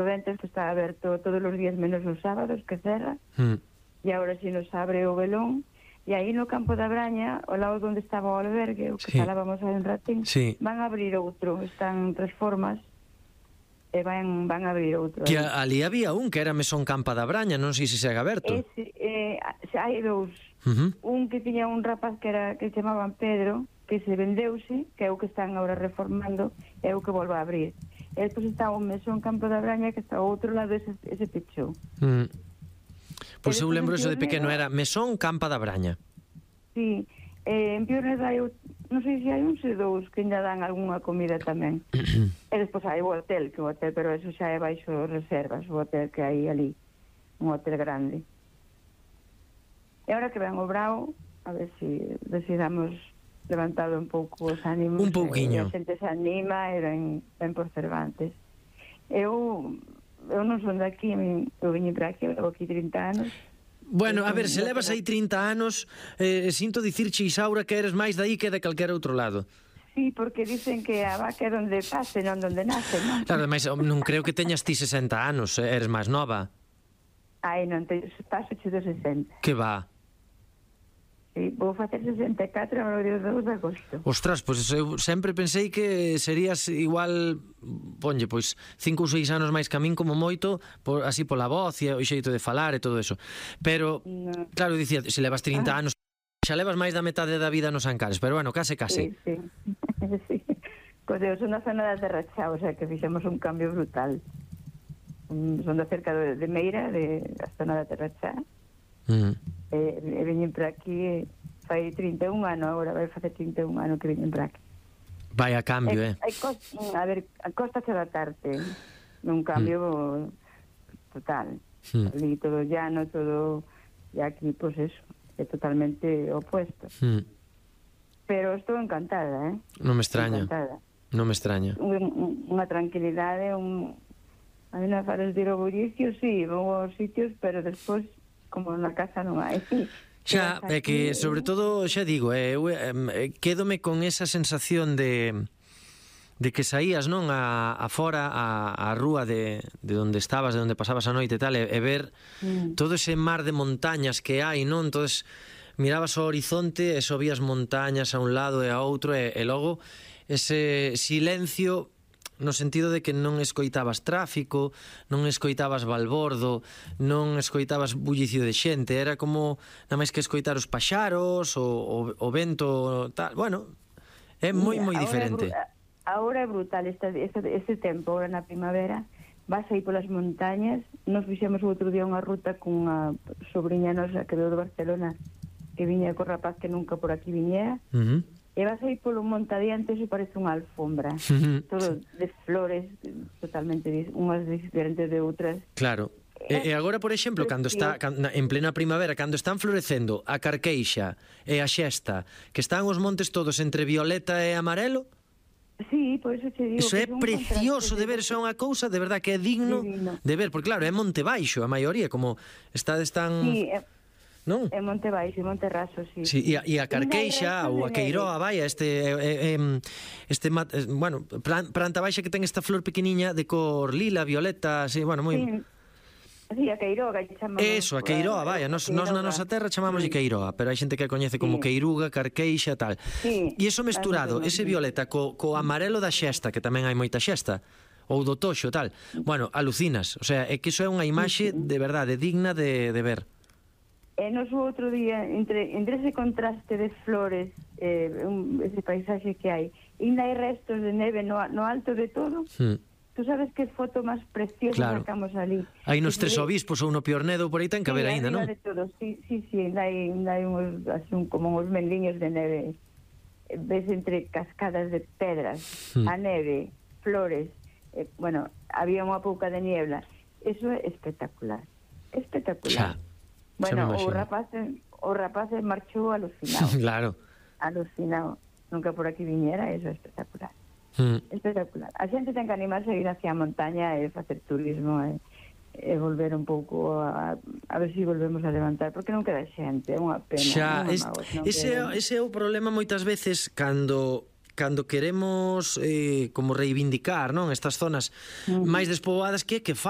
Ventos que está aberto todos os días menos os sábados que cerra, e agora si nos abre o velón, e aí no campo da Braña, ao lado onde estaba o albergue, o que falábamos aí un ratín, van a abrir outro, están tres formas, e van a abrir outro. Que ali había un que era Mesón Campa da Braña, non sei se segue aberto. Hai dous, un que tiña un rapaz que chamaban Pedro, que se vendeuse, que é o que están agora reformando, é o que volve a abrir. E depois está o Mesón Campo da Braña, que está ao outro lado, ese pechou. Pois eu lembro eso de pequeno, era Mesón Campa da Braña. Sí, en Piornedo hai, non sei se hai uns e dous que ainda dan algunha comida tamén. E despois hai o hotel, pero eso xa é baixo reservas, o hotel que hai ali, un hotel grande. E agora que ven o Brao, a ver se damos levantado un pouco os ánimos. Un pouquiño. A xente se anima e ven por Cervantes. Eu non son daqui, eu vim para aquí, eu levo aquí 30 anos. Bueno, a ver, se levas aí 30 anos, sinto dicirche, Isaura, que eres máis daí que de calquera outro lado. Sí, porque dicen que a vaca é donde pase, non donde nace, non? Claro, mas non creo que teñas ti 60 anos, eres máis nova. Ai, non, paso de 60. Que va? Sí, vou facer 64 no día 2 de agosto. Ostras, pois eu sempre pensei que serías igual, ponlle, pois 5 ou 6 anos máis que a min como moito, así pola voz e o xeito de falar e todo eso. Pero, claro, dicía, se levas 30 anos, xa levas máis da metade da vida nos Ancares, pero bueno, case. Sí. Sí. Pois eu son da zona da Terra Chá, o sea que fixemos un cambio brutal. Son da cerca de Meira, da zona da Terra Chá. E veñen para aquí fai 31 anos agora, vai facer 31 anos que veñen para aquí. Vai a cambio, a ver, a costa se adaptarte nun cambio total. Ali todo llano, todo, e aquí, pues eso, é totalmente opuesto. Pero estou encantada, Non me extraña. Non me extraña. Unha tranquilidade, a mí non fares de ir ao bullicio, sí, vou aos sitios, pero despois como na casa non hai. Xa, é que sobre todo, xa digo, eu quédome con esa sensación de que saías, non, a fora, a rúa de onde estabas, de onde pasabas a noite e tal, e ver todo ese mar de montañas que hai, non? Entonces mirabas ao horizonte e xo vías montañas a un lado e a outro, e logo ese silencio, no sentido de que non escoitabas tráfico, non escoitabas balbordo, non escoitabas bullicio de xente, era como nada máis que escoitar os paxaros, o vento, tal. Bueno, é moi diferente. Agora é brutal este tempo, agora na primavera, vas aí polas montañas. Nos fixemos outro día unha ruta con unha sobrinha nosa que veio de Barcelona, que viña co rapaz que nunca por aquí viñera, e vas aí polo monte adiante, eso parece unha alfombra, todo de flores, totalmente unhas diferentes de outras. Claro. E agora, por exemplo, cando está en plena primavera, cando están florecendo a carqueixa e a xesta, que están os montes todos entre violeta e amarelo. Sí, por eso te digo. Eso é precioso de ver, eso é unha cousa de verdad que é digno de ver, porque claro, é Monte Baixo a maioría, como estades tan... Sí, non? É Monte Baixo, Monte Raso, sí. Sí, e a Carqueixa ou a Queiroa, vai, bueno, planta baixa que ten esta flor pequeniña de cor lila, violeta, así, bueno, moi... Sí, a Queiroga que chamamos. Eso, a Queiroa, vai, nos na nosa terra chamamos de Queiroa, pero hai xente que a coñece como Queiruga, Carqueixa, tal. E iso mesturado, ese violeta co amarelo da xesta, que tamén hai moita xesta, ou do toxo, tal. Bueno, alucinas, o sea, é que iso é unha imaxe de verdade digna de ver. E nos outro día, entre ese contraste de flores, ese paisaxe que hai, ainda hai restos de neve no alto de todo. Tú sabes que foto máis preciosa sacamos ali. Hai nos Tres Obispos ou no Piornedo, por aí ten que haber ainda, non? Sí, ainda hai como uns mendiños de neve. Ves entre cascadas de pedras, a neve, flores, bueno, había unha pouca de niebla. Eso é espectacular. Espectacular. Bueno, o rapaz marchou alucinado. Claro. Alucinado. Nunca por aquí viñera, eso é espectacular. Espectacular. A xente ten que animarse a ir hacia a montaña e facer turismo e volver un pouco a ver se volvemos a levantar, porque non queda xente, é unha pena. Xa, ese é o problema moitas veces cando cando queremos como reivindicar, non, estas zonas máis despoboadas, que falta